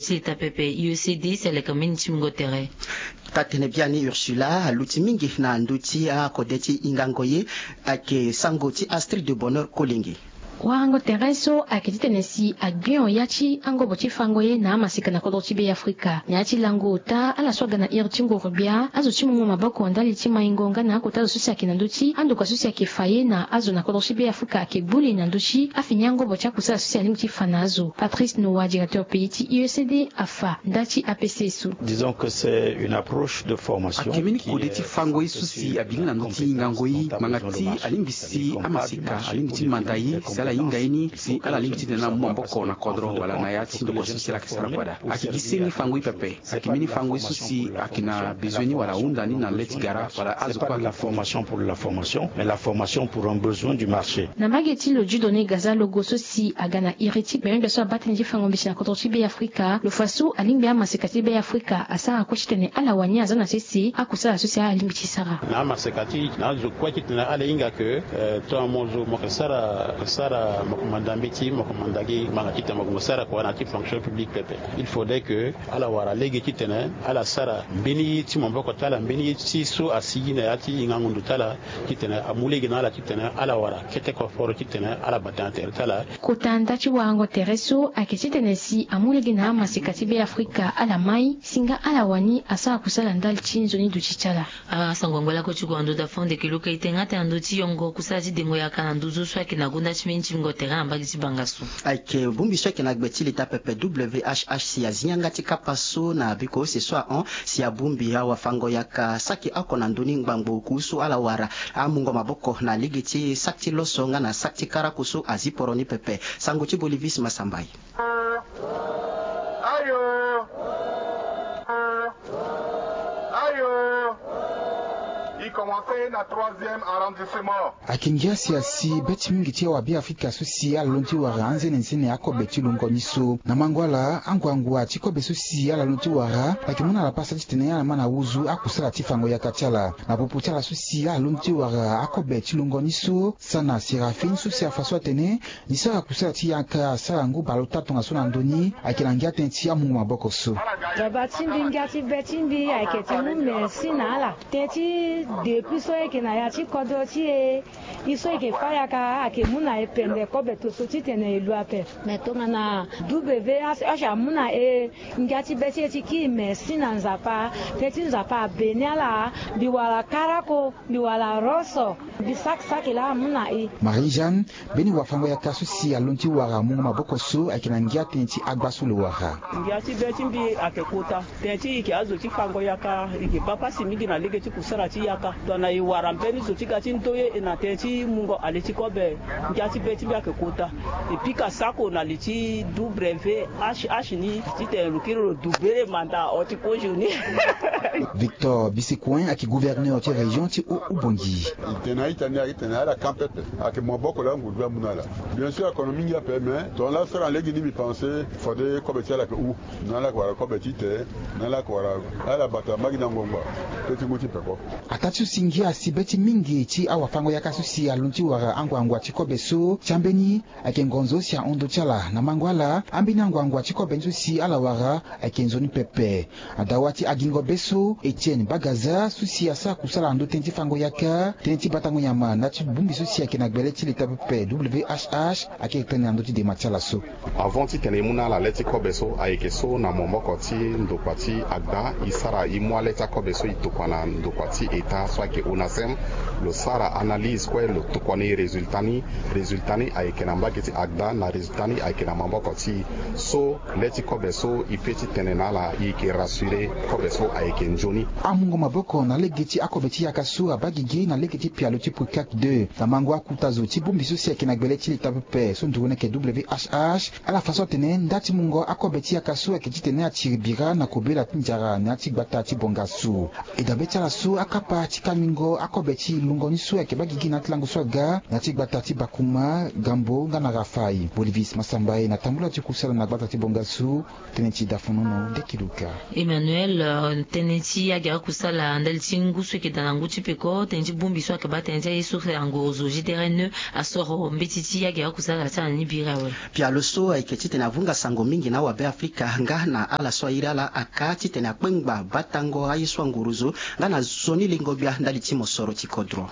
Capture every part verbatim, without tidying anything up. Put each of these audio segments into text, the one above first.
Ti eta pepe U E C D si aleka mbeni ti mungo tere. Taa-tene biani Ursula aluti mingi na ndö ti akode ti hingango ye. Ayeke sango ti Astrid de Bonheur Kolenge. Warango tere so ayeke titene si agbion ya ti angobo ti fango ye na amaseka na kodro ti Be Afrika. Na ya ti lango ota ala so aga na iri ti nguru-gbia, azo ti mungo maboko ndali ti maingo nga na akota azo so si ayeke na ndö ti andokua so si ayeke fa ye na azo na kodro ti Be Afrika ayeke gbu li na ndö ti afini angobo ti akusala so si alingbi ti fa na azo. Patrice Noa, directeur pays ti U E C D, afa nda ti A P C so. Disons que c'est une approche de formation. Ayeke mbeni kode ti fango ye so si abingbi na ndö ti hingango ye ngbanga ti alingbi si amaseka alingbi ti manda ye si ala hinga ye ni si ala lingbi ti tene na mu maboko na kodro wala na ya ti ndokua so si ala yeke sara kue daa. Ayeke gi seni fango ye pepe. Ayeke mbeni fango ye so si ayeke na bezoin ni wala ahunda ni na le ti gara wala azo kue. La formation pour la formation, mais la formation pour un besoin du marché. Na mbage ti lo Dieudonné Gaza Logo so si aga na iri ti gbengbe so abaa tënë ti fango mbeti na kodro ti Be Afrika, lo fa so alingbi amaseka ti Be Afrika asara kue titene ala wani aza na sese akusala so si ala lingbi ti sara. Na amaseka ti na azo kue titene ala hinga ke, eh, tongana mo zo mo yeke sara, sara mo yeke manda mbeti, mo yeke manda gi ngbanga titene mo yeke mo sara kua na ya ti fonction publique pepe. Il faudrait que ala wara lege titene ala sara mbeni ye ti maboko ti ala, mbeni ye ti so asigi na ya ti hingango ndo ti ala, titene amu lege na ala titene ala wara kete koforo titene ala bata na tere ti ala. Kota nda ti warango tere so ayeke titene si amu lege na amaseka ti Be Afrika ala mai si nga ala wani asara kusala ndali ti nzoni duti ti ala. Asango angba lakue ti gue na ndö da fande ke luka ite nga ti na ndö ti yongo kusala ti dengo yaka na nduzu so ayeke na gonda ti mbeni ti bingo tere na mbage ti banga so. Ayeke bongbi so ayeke na gbe ti leta pepe W H H si azi yanga ti kapa so na biko use so ahon si abongbi awafango yaka saki oko na ndö ni ngbangbo oku so ala wara amungo maboko na lege ti saki ti loso nga na saki ti karaku so azi poro ni pepe. Sango ti Bolivis Masambai. Ayo. Ayo. I commencé na troisième arrondissement. Ayeke ngia si asi be ti mingi ti awabe Afrika so si ala londo ti wara anzene nzene akobe ti lungo ni so. Na mango ala, anguangua ti kobe so si ala londo ti wara ayeke mu na ala pasa titene ala ma na wuzu akusala ti fango yaka ti ala. Na popo ti ala so si ala londo ti wara akobe ti lungo ni so, Sana Séraphin so si afa so atene ni sara kusala ti yaka asara ngu bale ota tongaso na ndo ni ayeke na ngia tënë ti amungo maboko so. Baba ti mbi, ngia ti be ti mbi ayeke ti mu merci na ala. Tënë ti depuis so e yeke na ya ti kodro ti e, e so e yeke fâ yaka ayeke mu na e pende kobe toso titene e lu ape. Me tongana W H H amu na e, ngia ti be ti e ti kiri merci na Nzapa. Tënë ti Nzapa abeni ala. Mbi wara karako, mbi wara roso, mbi saki saki laa amu na e. Marie Jeanne, mbeni wafango yaka so si alondo ti wara mungo maboko so ayeke na ngia tënë ti agba so lo wara. Ngia ti be ti mbi ayeke kota. Tënë ti e yeke azo ti fango yaka, e yeke baa pasi mingi na lege ti kusara ti yaka. Tongana e wara mbeni zo ti ga ti ndoye e na tënë ti mungo ale ti kobe, ngia ti be ti mbi ayeke kota. E pika sako na li ti W H H ni titene lo kiri lo dubere manda oti kozo ni. Victor Bisikuen ayeke gouverneur ti région ti Haut-Oubangui. E tene na ita ni ayeke tene ala kan pepe. Ayeke maboko laa nguru gbia amu na ala. Bien sûr akono mingi ape, mais tongana laa asara na lege ni mbi pense fade kobe ti ala ayeke hu. Na ala yeke wara kobe ti te, na ala yeke wara ala bata mbage na ngbangba. Pe ti ngu ti peko. Ataa ti so si ngia asi be ti mingi ti awafango yaka so si alondo ti wara anguangua ti kobe so ti ambeni ayeke ngonzo so si ahon ndö ti ala. Na mango ala, ambeni anguangua ti kobe ni so si ala wara ayeke nzoni pepe. Adawa ti agingo be so, Etienne Bagaza so si asara kusala na ndö tënë ti fango yaka, tënë ti batango nyama na ya ti bongbi so si ayeke na gbele ti leta pepe W H H ayeke tene na ndö ti dema ti ala so. Avant titene e mu na ala le ti kobe so ayeke so na momoko ti ndokua ti agda e sara e mu ale ti akobe so e tokua na ndokua ti eta so ayeke onasem. Lo sara analyse kue lo tokua na e résultat ni. Résultat ni ayeke na mbage ti agda na résultat ni ayeke na maboko ti e. So le ti kobe so e pe ti tene na ala e yeke rassurer kobe so ayeke nzoni. Amungo maboko na lege ti akobe ti yaka so abaa gigi na lege ti pialo ti Pukak deux na mango akuta zo ti bongbi so si ayeke na gbele ti leta pepe so nduru ni ayeke W H H. Ala fa so atene nda ti mungo akobe ti yaka so ayeke titene atiri bira na kobela ti nzara na ya ti gbata ti bonga so. E dabe ti ala so akapa ti kalingo akobe ti lungo ni so ayeke baa gigi na ya ti lango so aga na ya ti gbata ti Bakuma, Gambo nga na Rafai. Bolivis Masambaye na tambula ti kusala na gbata ti Bongasu. Tënë ti dafonono nde ki luka. Emmanuel, euh, tënë ti agera kusala ndali ti ngu so ayeke daa na ngu ti peko, tënë ti bongbi so ayeke baa tënë ti aye so angorozo G D R N E asoro mbeti ti agera kusala ti ala ni biri awe. Pialo so ayeke titene avunga sango mingi na awabe Afrika nga na ala so airi ala aka titene akpengba batango aye so angorozo nga na nzoni lengo-gbia ndali ti mosoro ti kodro.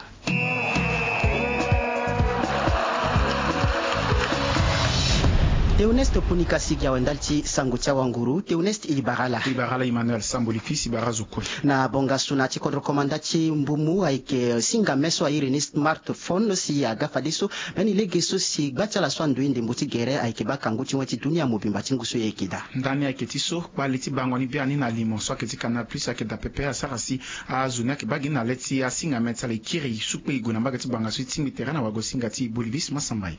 Théoneste Punika si gi awe ndali ti sango ti awanguru. Théoneste, e bara ala. E bara ala Emmanuel Samboli fils, e bara azo kue. Na bongasu na ya ti kodro komanda ti mbumu ayeke singame so airi ni smartphone si aga fadeso. Mbeni lege so si gba ti ala so andui ndembo ti gere ayeke baa kangu ti wen ti dunia mobimba ti ngu so e yeke daa. Ndani ayeke ti so kpale ti bango ni biani na limo so ayeke ti Canal Plus ayeke daa pepe asara si azo ni ayeke baa gi ni na le ti asingame ti ala e kiri sukpe e gue na mbage ti bongasu ti tingbi tere na wago singa ti Bolivis Masambaye.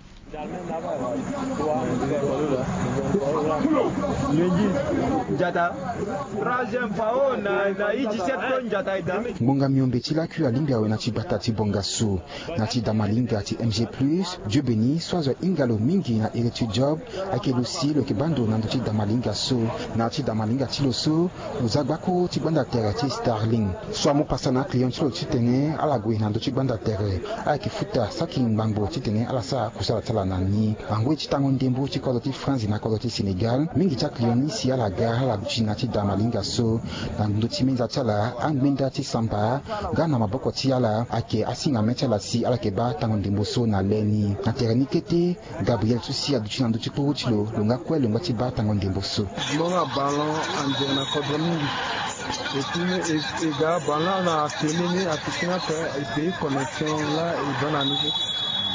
Ngbonga miombe ti lakui alingbi awe na ti gbata ti bongasu. Na ti damalinga ti M G plus, Dieu Béni so azo ahinga lo mingi na iri ti Job ayeke lo si lo yeke baa ndo na ndö ti damalinga so. Na ti damalinga ti lo so, lo za gbakuru ti gbanda tere ti Starlink so amu pasa na aclient ti lo titene ala gue na ndö ti gbanda tere. Ala yeke futa saki ngbangbo titene ala sara kusala ti ala na ni. Angoi ti tango ndembo ti kodro ti France na kodro ti Sénégal, mingi ti aclient ni si ala ga ala duti na ti damalinga so. Na ndö ti menda ti ala, angbenda ti samba nga na maboko ti ala ayeke asingame ti ala si ala yeke baa tango ndembo so na le ni. Na tere ni kete, Gabriel so si aduti na ndö ti kpuru ti lo, lo nga kue lo ngba ti baa tango ndembo so. Mo nga ballon anzere na kodro mingi. Et puis e, e ga ballon na télé ni afikiri ape e pays connexion laa e baa na ni kue.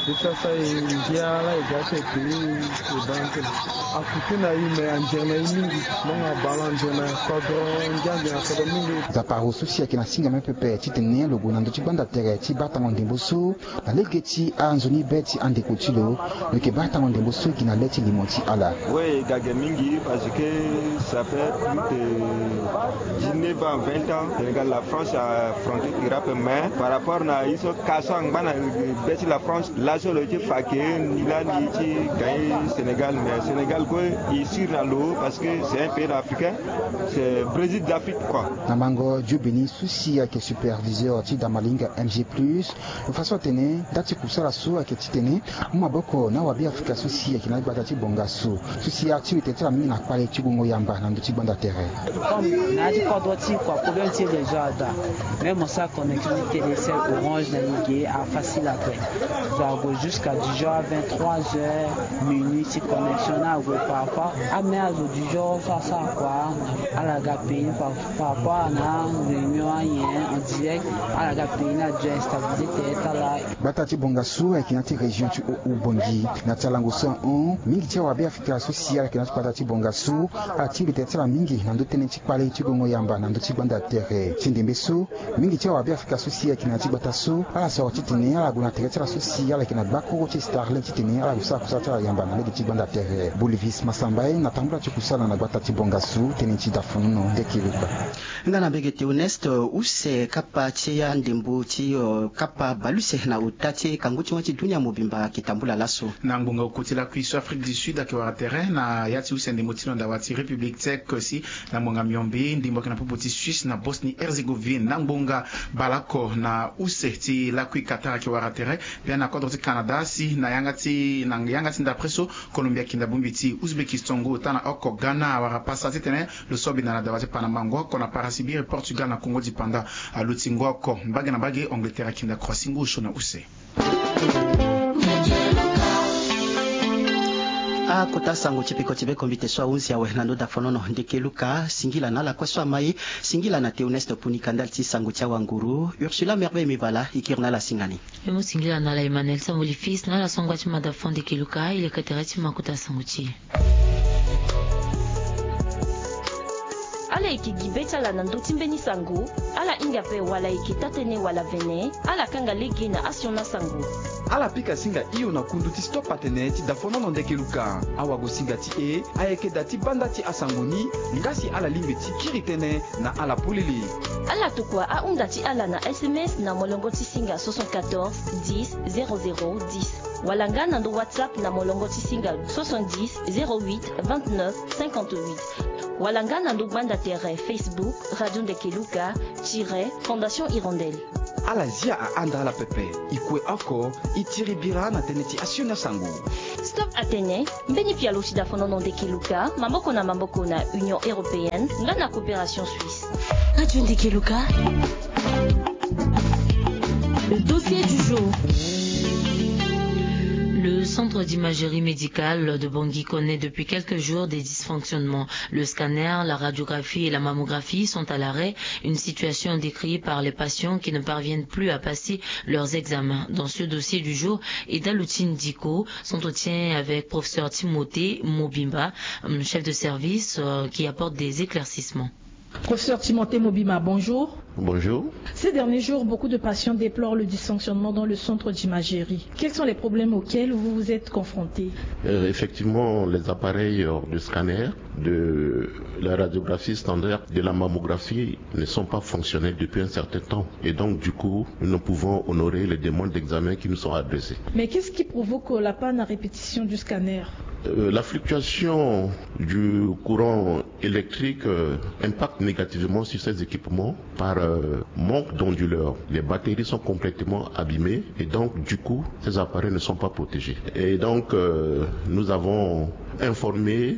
E sasa e ngia laa e ga ti e pays e baa na télé. Akutu na e me anzere na e mingi. Mo nga ballon anzere na kodro, ngia anzere na kodro mingi. Nzapa aroso si ayeke na singame pepe titene lo gue na ndö ti gbanda tere ti baa tango ndembo so. Na lege ti anzoni be ti andeko ti lo, lo yeke baa tango ndembo so gi na le ti limo ti ala. Oui, e ga ge mingi parce que ça fait plus de dix-neuf ans, vingt ans, Sénégal, la France a affronté Irak, mais par rapport na ye so ka so angba na be ti la France, laso lo ye ti fa ke ni laa ni ye ti gagner Sénégal, mais Sénégal kue e sûr na lo parce que c'est un pays africain, c'est Brésil d'Afrique quoi. Na mango Dieu Béni so si ayeke superviseur ti damalinga M G plus, lo fa so atene nda ti kusala so ayeke titene amu maboko na awabe afrika so si ayeke na gbata ti bongasu so si ati lo tene ti ala mingi na kpale ti gongo yamba na ndö ti gbanda tere. Comme na ya ti kodro ti kua problème ti réseau ada. Même mo sara connexion ti Télécel, Orange na e ge afacile ape. Zo ague jusqu'à dix heures, vingt-trois heures, minuit ti connexion ni ague. Parfois ame azo dix heures so asara kua, ala ga pays par rapport na réunion anyen en direct, ala ga pays ni adio instabilité tere ti ala. Gbata ti bongasu ayeke na ya ti région ti Oubangui. Na ti alango so ahon, mingi ti awabe afrika so si ala yeke na ya ti gbata ti bongasu ala tingbi tere ti ala mingi na ndö tënë ti kpale ti gongo yamba na ndö ti gbanda tere. Ti ndembe so, mingi ti awabe afrika so si ayeke na ya ti gbata so ala soro titene ala gue na tere ti ala so si ala yeke na gbakuru ti Starlink titene ala gue sara kusala ti ala yamba na lege ti gbanda tere. Bolivis Masambaye na tambula ti kusala na gbata ti bongasu, tënë ti dafonono nde ki luka. Nga na mbege Théoneste, use kapa ti andembo ti, euh, kapa bale use na ota ti kangu ti wen ti dunia mobimba ayeke tambula laso. Na ngbonga oko ti lakui so Afrique du Sud ayeke wara tere na ya ti use ndembo ti lo na dawa ti République Tchèque si na ngbonga miombe ndembo ayeke na popo ti Suisse na Bosnie Herzégovine. Na ngbonga baleoko na use ti lakui Qatar ayeke wara tere. Biani na kodro ti Canada si na yanga ti, na yanga ti ndapre so Colombie ayeke na bongbi ti Ouzbékistan. Ngu ota na oko Ghana awara pasa titene lo so abinda na dawa ti Panama. Ngu oko na Parasibiri, Portugal na Congo du Panda aluti ngu oko. Mbage na mbage Angleterre ayeke na Croatie ngu osio na use. Akota sango ti peko ti be kombite so ahunzi awe na ndo dafonono ndeke luka. Singila na ala kue so ama e. Singila na Théoneste Punika ndali ti sango ti awanguru. Ursula Merveille Mibala e kiri na ala singa ni. Mbi mu singila na ala Emmanuel Samboli fils na ala so angba ti mada fo ndeke luka. E leke tere ti ma kota sango ti e. Ala yeke gi be ti ala na ndö ti mbeni sango. Ala hinga ape wala e yeke taa-tënë wala vene, ala kanga lege na asioni asango. Ala pika singa hio na kundu ti Stop Atene ti dafonono ndeke luka. Awagosinga ti e ayeke da ti banda ti asango ni, nga si ala lingbi ti kiri tënë na ala polele. Ala tokua ahunda ti ala na S M S na molongo ti singa soixante-quatorze dix zéro zéro dix, wala nga na ndo WhatsApp na molongo ti singa soixante-dix zéro huit vingt-neuf cinquante-huit, wala nga na ndo gbanda tere Facebook Radio Ndeke Luka tiret Fondation Hirondelle. Ala zia ahanda ala pepe. E kue oko e tiri bira na tënë ti asioni asango. Stop Atene, mbeni pialo ti dafonono ndeke luka, maboko na maboko na Union Européenne nga na Coopération Suisse. Radio Ndeke Luka. Le dossier du jour. Le centre d'imagerie médicale de Bangui connaît depuis quelques jours des dysfonctionnements. Le scanner, la radiographie et la mammographie sont à l'arrêt, une situation décriée par les patients qui ne parviennent plus à passer leurs examens. Dans ce dossier du jour, Eda Lutine Diko s'entretient avec professeur Timothée Mobimba, euh, chef de service, euh, qui apporte des éclaircissements. Professeur Timothée Mobimba, bonjour. Bonjour. Ces derniers jours, beaucoup de patients déplorent le dysfonctionnement dans le centre d'imagerie. Quels sont les problèmes auxquels vous vous êtes confrontés ? Euh, effectivement, les appareils, euh, de scanner, de la radiographie standard, de la mammographie ne sont pas fonctionnels depuis un certain temps. Et donc, du coup, nous ne pouvons honorer les demandes d'examen qui nous sont adressées. Mais qu'est-ce qui provoque la panne à répétition du scanner ? Euh, la fluctuation du courant électrique, euh, impacte négativement sur ces équipements par, euh, manque d'onduleur. Les batteries sont complètement abîmées et donc, du coup, ces appareils ne sont pas protégés. Et donc, euh, nous avons informé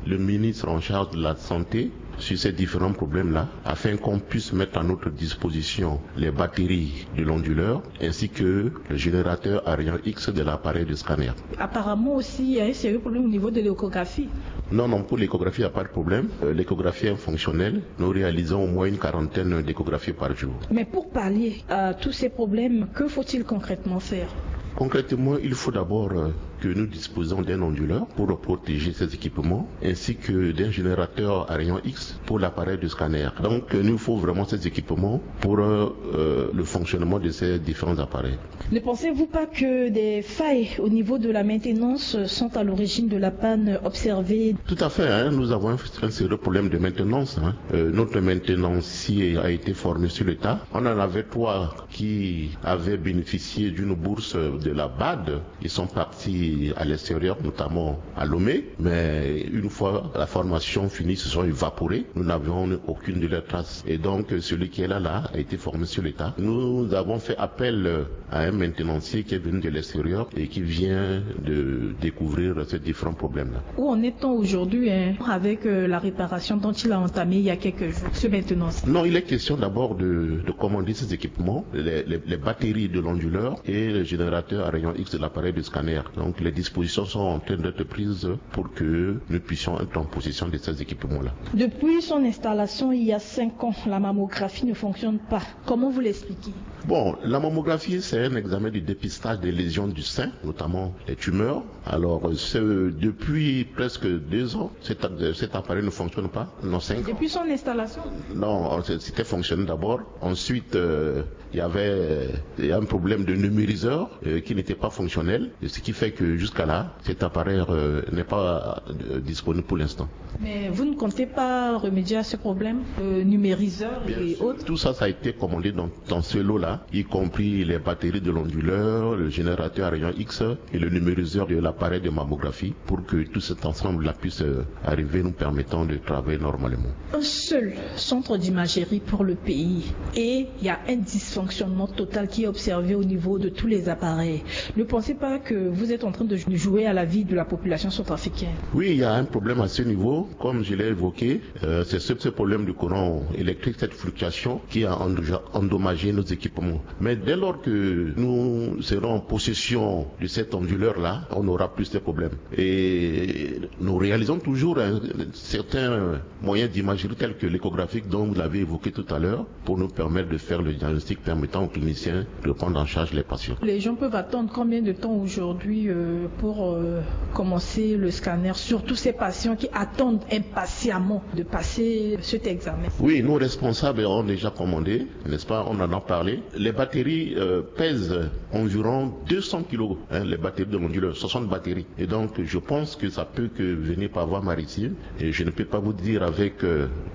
le ministre en charge de la Santé sur ces différents problèmes-là, afin qu'on puisse mettre à notre disposition les batteries de l'onduleur ainsi que le générateur Ariane X de l'appareil de scanner. Apparemment aussi, il y a un sérieux problème au niveau de l'échographie. Non, non, pour l'échographie, il n'y a pas de problème. Euh, l'échographie est fonctionnelle. Nous réalisons au moins une quarantaine d'échographies par jour. Mais pour pallier à tous ces problèmes, que faut-il concrètement faire ? Concrètement, il faut d'abord, euh, que nous disposons d'un onduleur pour protéger ces équipements, ainsi que d'un générateur Ariane X pour l'appareil de scanner. Donc, euh, il nous faut vraiment ces équipements pour, euh, euh, le fonctionnement de ces différents appareils. Ne pensez-vous pas que des failles au niveau de la maintenance sont à l'origine de la panne observée ? Tout à fait, hein, nous avons un, un sérieux problème de maintenance, hein. Euh, notre maintenancier a été formé sur le tas. On en avait trois qui avaient bénéficié d'une bourse de la BAD. Ils sont partis à l'extérieur, notamment à Lomé. Mais une fois la formation finie, ils se sont évaporés. Nous n'avions aucune de leurs traces. Et donc, celui qui est là, là, a été formé sur le tas. Nous avons fait appel, euh, à un maintenancier qui est venu de l'extérieur et qui vient de découvrir ces différents problèmes-là. Où en est-on aujourd'hui, hein, avec, euh, la réparation dont il a entamé il y a quelques jours, ce maintenancier ? Non, il est question d'abord de, de commander ces équipements, les, les, les batteries de l'onduleur et le générateur Ariane X de l'appareil de scanner. Donc, les dispositions sont en train d'être prises pour que nous puissions être en possession de ces équipements-là. Depuis son installation il y a cinq ans, la mammographie ne fonctionne pas. Comment vous l'expliquez ? Bon, la mammographie, c'est un examen de dépistage des lésions du sein, notamment les tumeurs. Alors, c'est depuis presque deux ans, cet, cet appareil ne fonctionne pas. Non, cinq ans. Depuis son installation ? Non, c'était fonctionné d'abord. Ensuite, euh, il y avait, euh, il y a un problème de numériseur, euh, qui n'était pas fonctionnel, et ce qui fait que jusqu'à là, cet appareil, euh, n'est pas, euh, disponible pour l'instant. Mais vous ne comptez pas remédier à ce problème, euh, numériseur et autres ? Bien sûr. Tout ça, ça a été commandé dans, dans ce lot-là, y compris les batteries de l'onduleur, le générateur Ariane X et le numériseur de l'appareil de mammographie, pour que tout cet ensemble-là puisse, euh, arriver, nous permettant de travailler normalement. Un seul centre d'imagerie pour le pays et il y a un dysfonctionnement total qui est observé au niveau de tous les appareils. Ne pensez pas que vous êtes en train de jouer à la vie de la population centrafricaine ? Oui, il y a un problème à ce niveau. Comme je l'ai évoqué, euh, c'est ce, ce problème du courant électrique, cette fluctuation qui a endoja-, endommagé nos équipements. Mais dès lors que nous serons en possession de cet onduleur-là, on n'aura plus de problèmes. Et nous réalisons toujours, hein, certains moyens d'imagerie tels que l'échographique dont vous l'avez évoqué tout à l'heure pour nous permettre de faire le diagnostic permettant aux cliniciens de prendre en charge les patients. Les gens peuvent attendre combien de temps aujourd'hui, euh, pour, euh, commencer le scanner, surtout ces patients qui attendent impatiemment de passer cet examen ? Oui, nos responsables ont déjà commandé, n'est-ce pas ? On en a parlé. Les batteries pèsent environ deux cents kilos, les batteries de l'onduleur, soixante batteries. Et donc je pense que ça peut que venir par voie maritime. Et je ne peux pas vous dire avec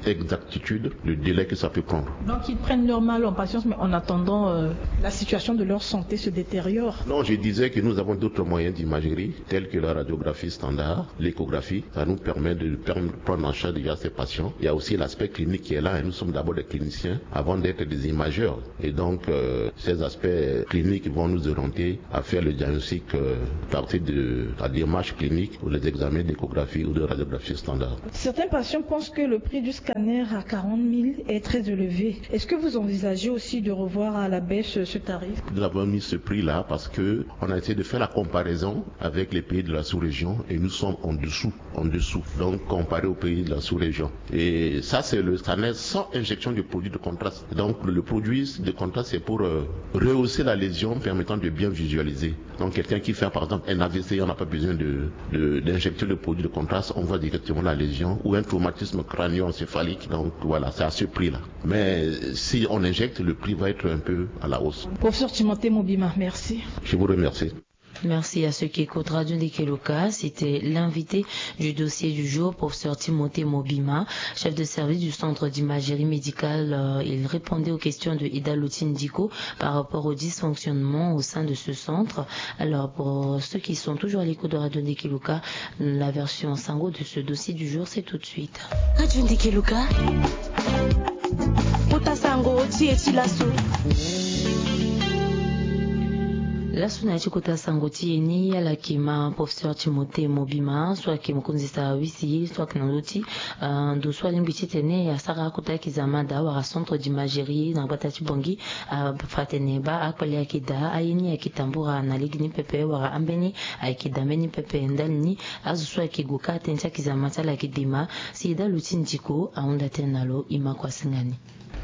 exactitude le délai que ça peut prendre. Donc ils prennent leur mal en patience, mais en attendant la situation de leur santé se détériore. Non, je disais que nous avons d'autres moyens d'imagerie, tels que la radiographie standard, l'échographie. Ça nous permet de prendre en charge déjà ces patients. Il y a aussi l'aspect clinique qui est là, et nous sommes d'abord des cliniciens avant d'être des imageurs. Et donc ces aspects cliniques vont nous orienter à faire le diagnostic à partir de la démarche clinique ou les examens d'échographie ou de radiographie standard. Certains patients pensent que le prix du scanner à quarante mille est très élevé. Est-ce que vous envisagez aussi de revoir à la baisse ce tarif ? Nous avons mis ce prix-là parce que on a essayé de faire la comparaison avec les pays de la sous-région et nous sommes en dessous, en dessous. Donc comparé aux pays de la sous-région. Et ça, c'est le scanner sans injection de produit de contraste. Donc le produit de contraste, c'est pour rehausser la lésion permettant de bien visualiser. Donc quelqu'un qui fait par exemple un A V C, on n'a pas besoin de d'injecter le produit de contraste, on voit directement la lésion, ou un traumatisme crânio-encéphalique. Donc voilà, c'est à ce prix-là. Mais si on injecte, le prix va être un peu à la hausse. Professeur Timothée Mobima, merci. Je vous remercie. Merci à ceux qui écoutent Radio Ndeke Luka. C'était l'invité du dossier du jour, professeur Timothée Mobima, chef de service du centre d'imagerie médicale. Il répondait aux questions de Ida Lotindiko par rapport au dysfonctionnement au sein de ce centre. Alors pour ceux qui sont toujours à l'écoute de Radio Ndeke Luka, la version sango de ce dossier du jour, c'est tout de suite. Radio Ndeke Luka. Kota sango ti e ti laso. Laso na ya ti kota sango ti e ni, ala yeke ma professeur Timothée Mobima, so ayeke mokonzi sara wisi, so ayeke na ndö ti ndo so alingbi titene asara akota kizama daa wala centre d'imagerie na gbata ti Bangui. Afa atene baa akpale ayeke daa, aye ni ayeke tambura na lege ni pepe wala ambeni ayeke daa mbeni pepe ndali ni. Azo so ayeke gue kâ tënë ti akizama ti ala ayeke dema. Si Ida Lotindiko ahunda tënë na lo, e ma kua singa ni.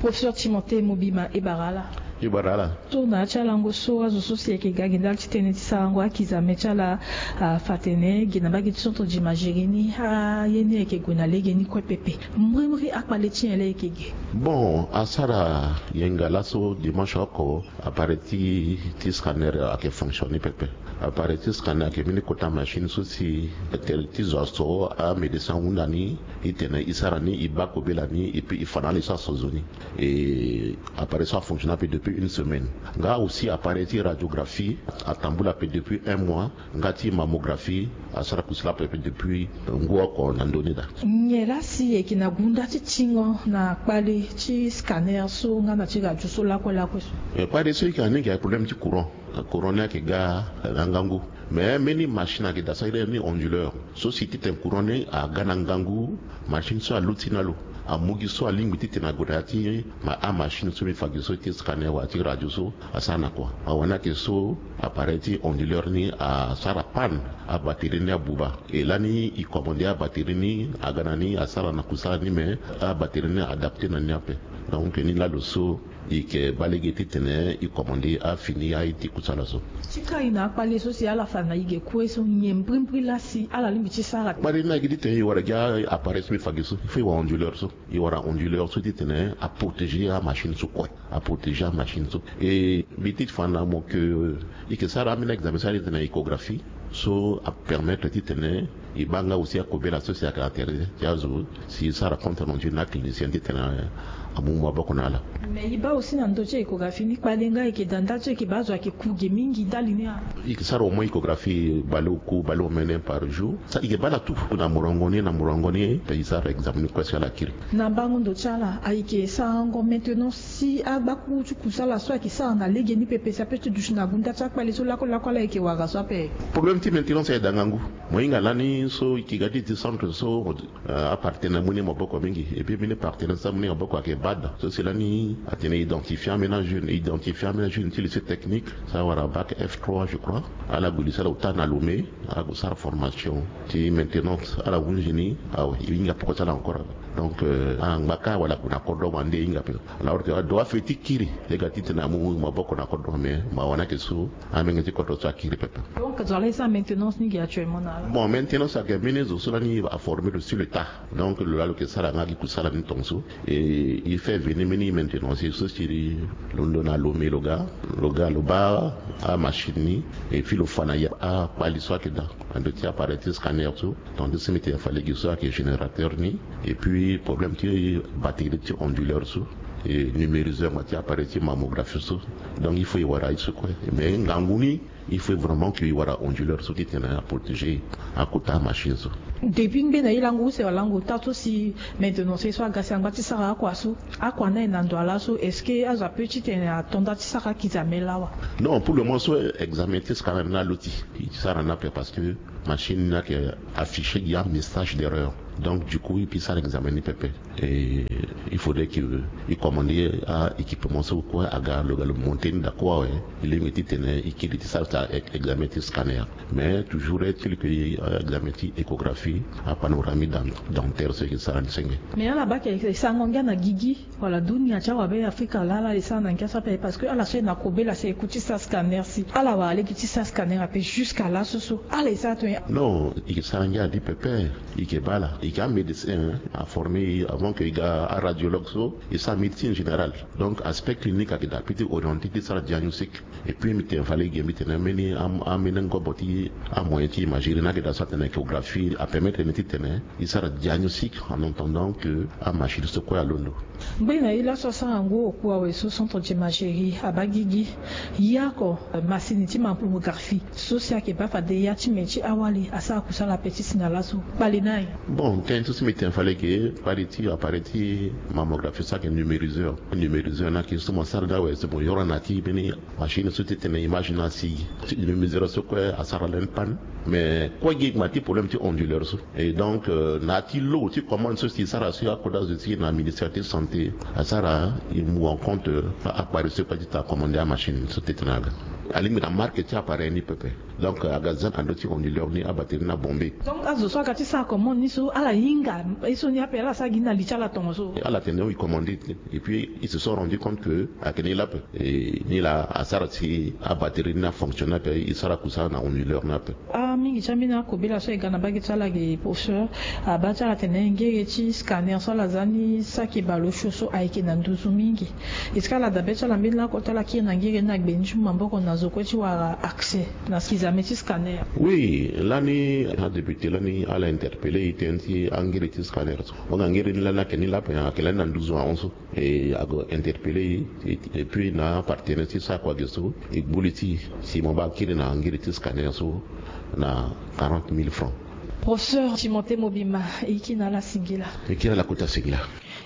Professeur Timothée Mobima, e bara ala. E bara ala. So na ya ti alango so azo so si ayeke ga gi ndali ti tënë ti sarango akizame ti ala, afa atene gi na mbage ti centre d'imagerie ni, aye ni ayeke gue na lege ni kue pepe. Mbrimbri akpale ti nyen laa e yeke ge? Bon, asara yenga laso dimanche oko, appareil ti ti scanner ayeke fonctionner pepe. Appareil ti scanner ayeke mbeni kota machine so si tere ti zo aso amédecin ahunda ni, e tene e sara ni, e baa kobela ni, et puis e fa na ala ye so aso zo ni. Et appareil so afonctionner ape depuis une semaine. Nga aussi appareil ti radiographie atambula ape depuis un mois. Nga ti mammographie asara kusala ape depuis ngu oko na ndö ni daa. Nyen laa si e yeke na gunda ti tingo na kpale ti scanner so nga na ti radio so lakue lakue so? Kpale so e yeke na ni ayeke problème ti courant. Courant ni ayeke ga na ngangu. Mais mbeni machine ayeke daa so a iri ni onduleur. So si titene courant ni aga na ngangu, machine so aluti na lo. Amu gi so alingbi titene ague na ya ti ma amachine so mbi fa gi so ti scanner wala ti radio so asara na kua. Awani ayeke so appareil ti onduleur ni asara panne, abatterie ni abuba. E lani e commande abatterie ni aga na ni asara na kusala ni, mais abatterie ni adapté na ni ape. Donc ni laa lo so e yeke baa lege titene e commande afini aye ti kusala so. Ti kai na akpale so si ala fa na e ge kue so, nyen mbrimbri laa si ala lingbi ti sara? Kpale ni ayeke titene e wara gi appareil so mbi fa gi so, il faut e wara onduleur so. E wara onduleur so titene aprotéger amachine so kue. Aprotéger amachine so. E mbi ti fa na mo ke e yeke sara ambeni examen so a iri titene échographie. So apermettre titene e baa nga aussi akobela so si ayeke na tere ti azo si e sara compte rendu na aclinicien titene amu maboko na ala. Mais e baa aussi na ndö ti échographie ni kpale nga e yeke daa ndali so e yeke baa azo ayeke ku ge mingi ndali ni a? E yeke sara au moins échographie baleoku baleomene par jour. Sa e yeke baa ala tout na morongo ni na morongo ni e sara examen ni kue si ala kiri. Na mbango ndo ti ala ayeke sarango maintenance si agbakuru ti kusala so ayeke sara na lege ni pepe si ape ti duti na gunda ti akpale so lakue lakue ala yeke wara so ape? Problème ti maintenance ayeke daa ngangu. Mo hinga lani so e yeke ga ti ti centre so apartenaire mu ni maboko mingi. Et puis mbeni partenaire so amu ni maboko ayeke bad so si lani atene identifier ambeni ajeune identifier ambeni ajeune ti lycée technique so awara bac F trois je crois. Ala gue lycée ala ota na Lomé. Ala gue sara formation ti maintenance ala hunzi ni. Awe e hinga poko ti ala encore. Donc ala ngba kâ wala ague na kodro wande e hinga pe. Alors que ado afe ti kiri e ga titene amu maboko na kodro mais ma wani ayeke so amenge ti kodro so akiri pepe. Donc zo ala ye so Maintenance ni gi actuellement na ala? Bon, maintenance ayeke mbeni zo so lani aformer lo sur le tas. Donc lo laa lo yeke sara nga gi kusala ni tongaso. E, e fait venir mbeni maintenance so si lo ndo na Lomé lo ga, lo ga lo baa amachine ni. Et puis lo fa na ya akpali so ayeke daa na ndö ti appareil ti scanner so. Donc ti si mbi tene fa lege so ayeke générateur ni. Et puis problème ti batterie ti onduleur so, et numériseur ma ti appareil ti mammographie so. Donc il faut e wara ye so kue. Mais ngangu ni, il faut vraiment que e wara onduleur so titene aprotéger akota machine so. Depuis ngbe na e lango use wala lango ota so si maintenance so aga si angba ti sara akua so, akua ni aye na ndo ala so, est-ce que azo ape titene ato nda ti sara akizame lawa? Non, pour le moment so examen ti scanner ni aloti. E sara ni ape parce que machine ni ayeke afficher gi amessage d'erreur. Donc du coup e peut sara examen ni pepe. Et il faudrait que e commander aéquipement so kue aga lo ga lo monter ni daa kue awe. E lingbi titene e kiri ti sara examen ti scanner. Mais toujours est-il que examen ti échographie, apanoramique dentaire so e ke sara ni senge. Mais ala baa ayeke sango ngia na gigi wala dunia ti awabe Afrika laa ala ye sara na ngia so ape? Parce que ala so e na kobela si e ku ti sara scanner si ala wara lege ti sara scanner ape jusqu'à laso so ala ye sara tongana? Non, e ke sara ngia na ni pepe. E ke baa ala, e ke amédecin aformer e avant que e ga aradiologue so e sara médecine générale. Donc aspect clinique ayeke daa ape ti orienter ti sara diagnostic. Et puis mbi tene fade gi mbi tene ambeni am- ambeni ngobo ti amoyen ti imagerie ni ayeke daa so atene échographie apermettre ni titene e sara diagnostic en attendant que amachine so kue alondo. Ngbene na e laso asara ngu oku awe so centre d'imagerie abaa gigi. Ye oko masini ti mammographie so si ayeke baa fade ya ti me ti awali asara kusala ape ti si na laso kpali ni aye? Bon, tënë so si mbi tene fade gi kpali ti appareil ti mammographie so ayeke numériseur. Numériseur ni ayeke so mo sara ni awe so mo yoro na ti mbeni machine so titene image ni asi. Ti numériseur so kue asara lani panne. Mais kue gi ma ti problème ti onduleur so. Et donc na ya ti lo ti commande so si e sara so akodro azo ti e na ministère ti santé asara e mu en compte akpari so kue ti tene acommande amachine so titene aga. Alingbi na marque ti appareil ni pepe. Donc aga za na ndö ti onduleur ni abatterie ni abombe. Donc azo so aga ti sara commande ni so ala hinga ye so ni ape ala sara gi ni na li ti ala tongaso? Ala tene e commande. Et puis ils se sont rendu compte que ayeke ni laa ape. Et ni laa asara si abatterie ni afonctionne ape, e sara kusala na onduleur ni ape. Amingi ti ambeni akobela so e ga na mbage ti ala ge professeur, abaa ti ala atene ngere ti scanner so ala za ni saki bale osio so ayeke na nduzu mingi. Est-ce que ala dabe ti ala mbeni lako ti ala kiri na ngere ni na gbe ni ti mu maboko na zo kue ti wara accès na kizame ti scanner? Oui, lani adébuté lani ala interpeller e tënë ti angere ti scanner so. Wanga ngere ni lani ayeke ni laa ape, ayeke lani na nduzu ahon so. E ague interpeller e, et puis na apartenaire ti sara kua ge so e gbu li ti e si mo baa akiri na ngiri ti scanner so na quarante mille francs. Professeur Timothée Mobima, e kiri na ala singila. E kiri na ala kota singila.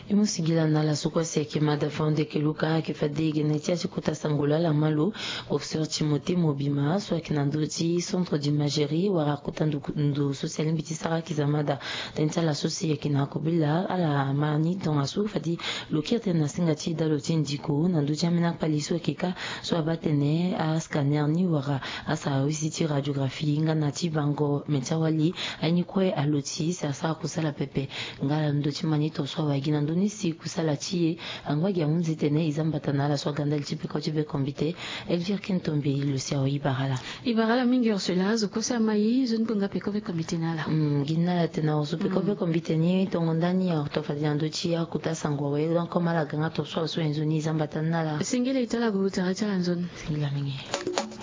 E mu singila na ala so kue si ayeke mada fande yeke luka ayeke fade gene ti ya ti kota sango laa ala ma lo. Professeur Timothée Mobima so ayeke na ndö ti centre d'imagerie wala kota ndo so si alingbi ti sara akizamada. Tënë ti ala so si ayeke na kobela ala ma ni tongaso fade lo kiri tënë na singa ti dalo ti ndiko na ndö ti ambeni akpali so ayeke kâ so abaa tënë ascanner ni wala asara wisi ti radiographie nga na ti bango me ti awali. Aye ni kue alo ti e si asara kusala pepe. Nga ala ndö ti ma ni tongaso awe agi na ndö ni si kusala ti e angba gi ahunzi tënë e za mbata na ala so aga ndali ti peko ti be kombite. Elvire Kintombi lo si awe e bara ala. E bara ala mingi Ursula, zo kue so ama e, nzoni bonga peko be kombite na ala. Gi na ala tena oso peko be kombite ni tongo ndani ato fade na ndö ti akota sango awe. Donc comme ala ga nga tongaso awe so e nzoni e za mbata na ala. Singila e to ala gue tere ti ala nzoni. Singila mingi.